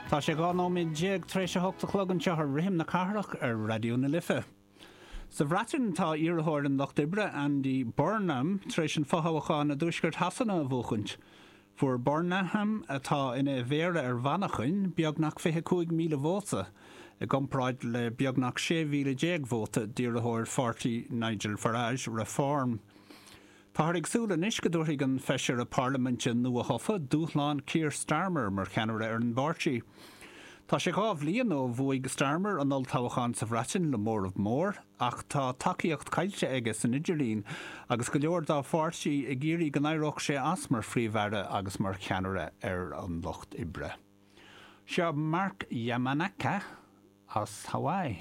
Tá sé 12 nóiméad tar éis a hocht a chlog anseo ar Rithim na Cathrach ar Raidió na Life. Sa Bhreatain tá iarrthóir an Lucht Oibre, Andy Burnham, tar éis an fothoghchán i dtuaisceart Shasana a bhuachaint. Fuair Burnham, atá ina mhéara ar Mhanchain, beagnach 25,000 vóta, i gcomparáid le beagnach 16,000 vóta d'iarrthóir pháirtí Nigel Farage, Reform. Táthar ag súil anois go dtabharfaidh an feisire parlaiminte nuathofa dúshlán Keir Starmer mar cheannaire ar an bpáirtí. Tá sé 2 bhliain ó bhuaigh Starmer an olltoghchán sa Bhreatain le móramh mór, ach tá tacaíocht caillte aige san idirlíon agus go leor dá pháirtí ag iarraidh go n-éireodh sé as mar Phríomh-Aire agus mar cheannaire ar an Lucht Oibre. Seo Mark Yamanaka as Hawaii.